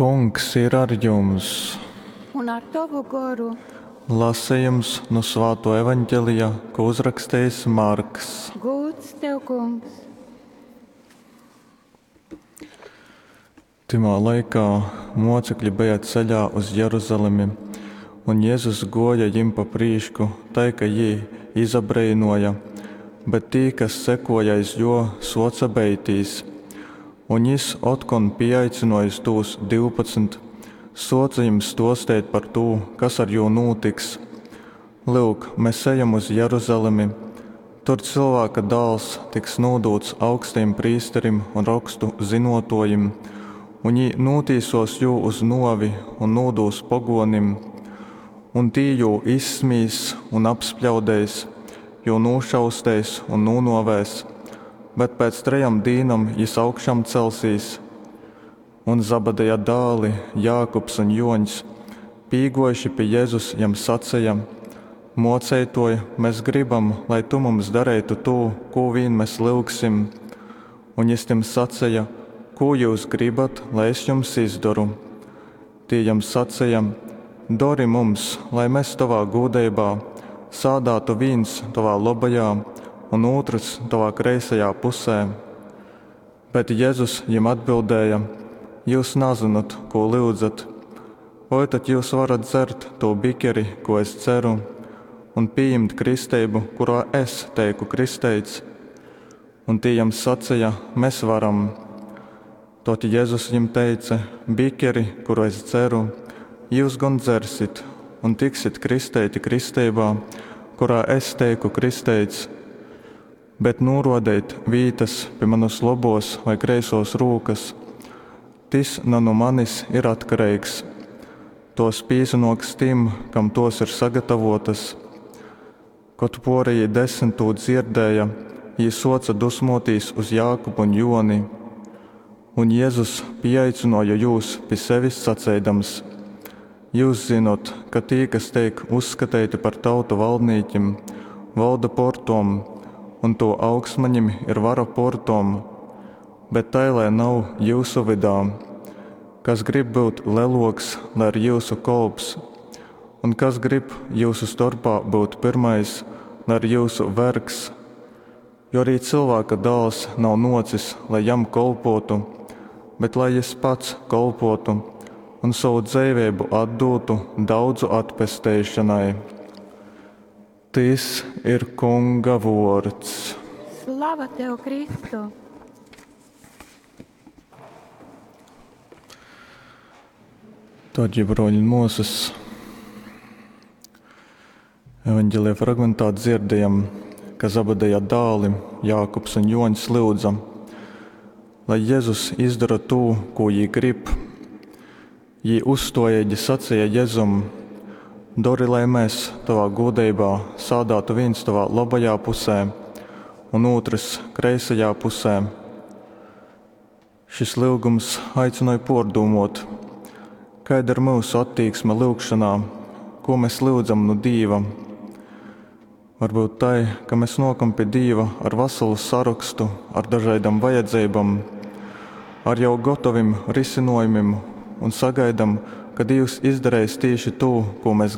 Kungs ir ar jums! Un ar tovu goru. Lasejums nu Svātuo Evaņgelija, kū uzrakstejis Marks. Gūds tev, Kungs! Tymā laikā mocekļi beja ceļā uz Jeruzalemi, un Jezus guoja jim pa prīšku tai, ka jī izabreinoja, bet tī, kas sekoja aiz juo, suoce beitīs. Un jis, otkon pīaicynojis tūs 12, suoce jim stuosteit par tū, kas ar jū nūtiks, Lyuk, mes ejam uz Jeruzalemi, tur Cylvāka Dāls tiks nūdūts augstajim prīsterim un Rokstu zynuotuojim, un jī nūtīsuos jū uz nuovi un nūdūs poguonim. Un tī jū izsmīs un apspļaudeis, jū nūšausteis un nūnuovēs, bet pēc trejom dīnom jis augšamcelsīs. Un Zabadeja dāli Jākubs un Juoņs, pīguojuši pi Jezus, jam saceja: Muoceituoj, mes gribam, lai tu mums dareitu tū, kū vīn mes lyugsim. Un jis tim saceja: Kū jyus gribat, lai es jums izdoru? Tī jam saceja: Dori mums, lai mes tovā gūdeibā sādātu vīns tovā lobajā un ūtrys tovā kreisajā pusē. Bet Jezus jim atbildēja: Jyus nazynot, kū lyudzat. Voi tad jyus varat dzert tū bikeri, kū es dzeru, un pījimt kristeibu, kurā es teiku kristeits? Un tī jam saceja: Mes varam. Tod Jezus jim teice: Bikeri, kuru es dzeru, jyus gon dzersit un tiksit kristeiti kristeibā, kurā es teiku kristeits. Bet nūruodeit vītys pi manys lobuos vai kreisuos rūkys, tys na nu manis ir atkareigs. Tuos pīsanuoks tim, kam tuos ir sagatavuotys. Kod puorejī desmit tū dzierdēja, jī suoce dusmuotīs uz Jākubu un Juoni. Un Jezus pīaicynuoja jūs pi sevis saceidams: Jyus zynot, ka tī, kas teik uzskateiti par tautu valdnīkim, volda por tom, un to augstmaņim ir vara por tom. Bet tai lai nav jyusu vydā. Kas grib byut leluoks, lai ir jyusu kolps, un kas grib jyusu storpā byut pyrmais, lai ir jyusu vergs. Jo arī Cylvāka Dāls nav nuocis, lai jam kolpuotu, bet lai jis pats kolpuotu un sovu dzeiveibu atdūtu daudzu atpesteišonai. Tys ir Kunga vuords. Slava tev, Kristu! Dārgie broļi un muosas, Evanģelija fragmentā dzirdējam, ka Zabadeja dāli Jākubs un Joņs lyudza, lai Jezus izdara tū, ko jī grib. Jī uzstuojeigi saceja Jezum: Dori, lai mēs tovā gūdeibā sādātu vīns tovā labajā pusē un ūtrys kreisajā pusē. Šis lyugums aicināja pārdomot, kāda ir mūsu attieksme lyugšanā, ko mēs lyudzam no Dieva. Varbūt tai, ka mēs nokam pie Dieva ar veselu sarakstu, ar dažādām vajadzībām, ar jau gotovim risinājumiem un sagaidām, ka Dievs izdarīs tieši to, ko mēs gribam.